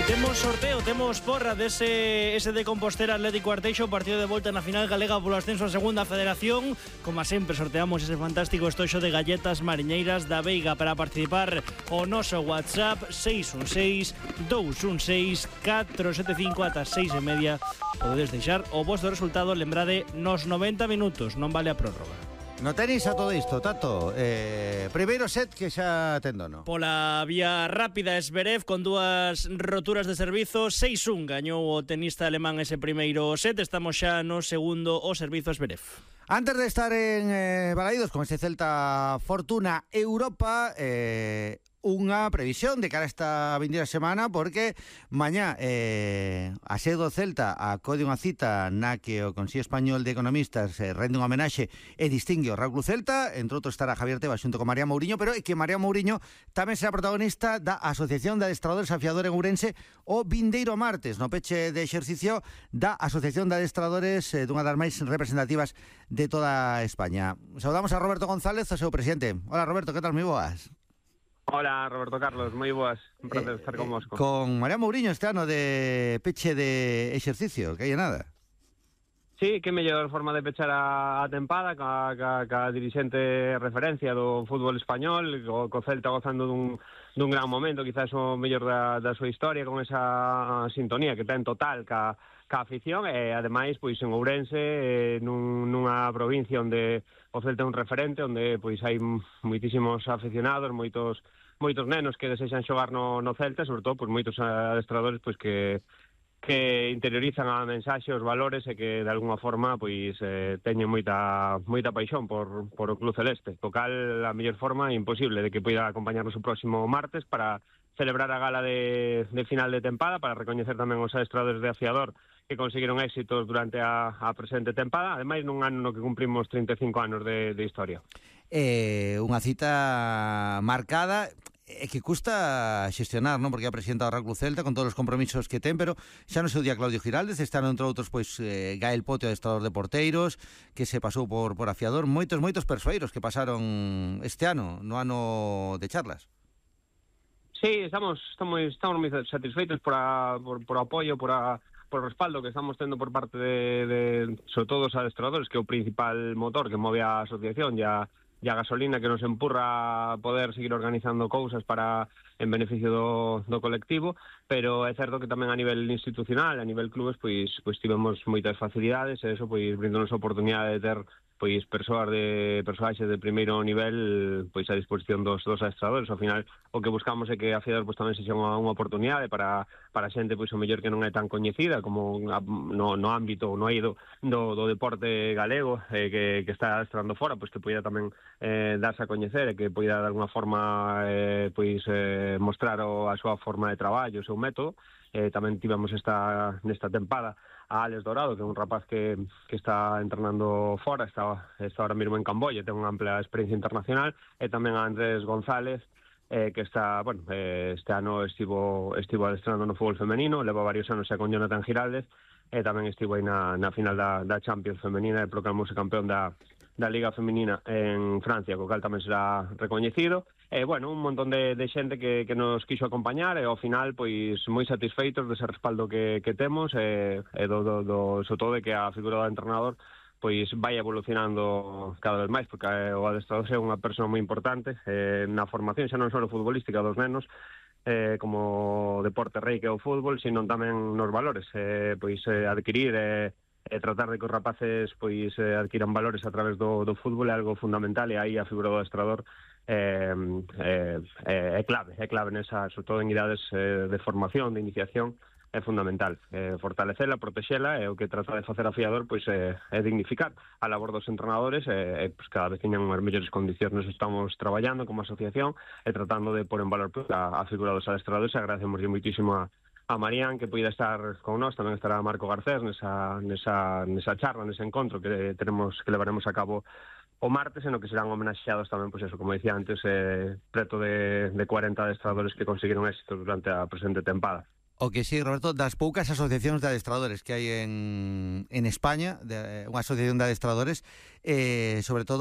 Temos sorteo, temos porra dese de Compostela Atlético Arteixo, partido de volta na final galega polo ascenso a segunda federación. Como sempre sorteamos ese fantástico estoxo de galletas mariñeiras da Veiga. Para participar o noso WhatsApp 616-216-475 ata 6:30. Podedes deixar o vosso resultado, lembrade, nos 90 minutos, non vale a prórroga. No tenis a todo isto, Tato. Primeiro set que xa tendo, no? Pola vía rápida, Zverev con dúas roturas de servizo, 6-1 gañou o tenista alemán ese primeiro set. Estamos xa no segundo o servizo Zverev. Antes de estar en Balaídos con este Celta Fortuna Europa, unha previsión de cara a esta vindeira semana, porque mañá a sede do Celta acode unha cita na que o Consello Español de Economistas rende un homenaxe e distingue o Real Club Celta. Entre outros estará Javier Tebas xunto con María Mouriño, pero é que María Mouriño tamén será protagonista da Asociación de Adestradores Afiador en Ourense o vindeiro martes, no peche de exercicio da Asociación de Adestradores, dunha das máis representativas de toda España. Saudamos a Roberto González, o seu presidente. Hola, Roberto, que tal? Moi boas. Hola, Roberto Carlos, moi boas, un placer estar con vos. Con María Mouriño este ano de peche de exercicio, que hai nada. Sí, que mellor forma de pechar a tempada ca dirixente referencia do fútbol español, co Celta gozando dun gran momento, quizás o mellor da súa historia, con esa sintonía que ten total ca afición, e ademais pois en Ourense, nunha provincia onde o Celta é un referente, onde pois hai moitísimos aficionados, moitos nenos que desexan xogar no Celta, sobre todo pois moitos adestradores pois que interiorizan a mensaxe, os valores, e que de alguna forma pois teñen moita paixón por o Club Celeste. Co cal, a mellor forma imposible de que poida acompañarnos o próximo martes para celebrar a gala de final de tempada, para recoñecer tamén os adestradores de afiador que conseguiron éxitos durante a presente tempada, ademais nun ano no que cumprimos 35 anos de historia. Unha cita marcada e que custa xestionar, non? Porque a presidenta do Real Club Celta con todos os compromisos que ten, pero xa no seu día Claudio Giraldes, este ano entre outros pois Gael Pote, adestrador de porteiros, que se pasou por afiador, moitos persoeiros que pasaron este ano, no ano de charlas. Sí, estamos moi satisfeitos por o apoio, por o respaldo que estamos tendo por parte de sobre todo os adestradores, que é o principal motor que move a asociación, e a gasolina que nos empurra a poder seguir organizando cousas en beneficio do colectivo, pero é certo que tamén a nivel institucional, a nivel clubes, pois tivemos moitas facilidades, e eso pois brindonos a oportunidade de ter pois persoaxes de primeiro nivel pois a disposición dos adestradores. Ao final o que buscamos é que a afiador pois tamén sexa unha oportunidade para xente pois o mellor que non é tan coñecida como no ámbito, no eido do deporte galego, que está adestrando fora, pois que poida tamén darse a coñecer, e que poida de alguna forma mostrar a súa forma de traballo, o seu método. Tamén tivemos nesta tempada a Alex Dorado, que é un rapaz que está entrenando fora, está ahora mesmo en Camboya, ten unha ampla experiencia internacional, e tamén a Andrés González, que está, este ano estivo adestrando no fútbol femenino, leva varios anos xa con Jonathan Giraldes, e tamén estivo aí na final da Champions femenina, e proclamouse campeón da Liga Femenina en Francia, co cal tamén será recoñecido. Un montón de xente que nos quixo acompañar, e ao final pois moi satisfeitos dese respaldo que temos, e sobre todo de que a figura do entrenador pois vai evolucionando cada vez máis, porque o adestrador é unha persoa moi importante na formación, xa non só futbolística dos nenos, como deporte rei que é o fútbol, sino tamén nos valores, adquirir e tratar de que os rapaces pois adquiran valores a través do fútbol é algo fundamental, e aí a figura do adestrador é clave nesa, sobre todo en idades de formación, de iniciación, é fundamental. Fortalecela, protexela, e o que trata de facer a afiador pois é dignificar a labor dos entrenadores, e pois cada vez teñan unhas mellores condicións. Estamos traballando como asociación e tratando de pôr en valor a figura dos adestradores. Agradecemos moitísimo a Marían que poida estar con nós, tamén estará Marco Garcés nesa charla, nese encontro que levaremos a cabo o martes, en o que serán homenaxeados tamén, pois eso, como dicía antes, preto de 40 adestradores que conseguiron éxito durante a presente tempada. O que sí, Roberto, das poucas asociacións de adestradores que hai en España, unha asociación de adestradores, sobre todo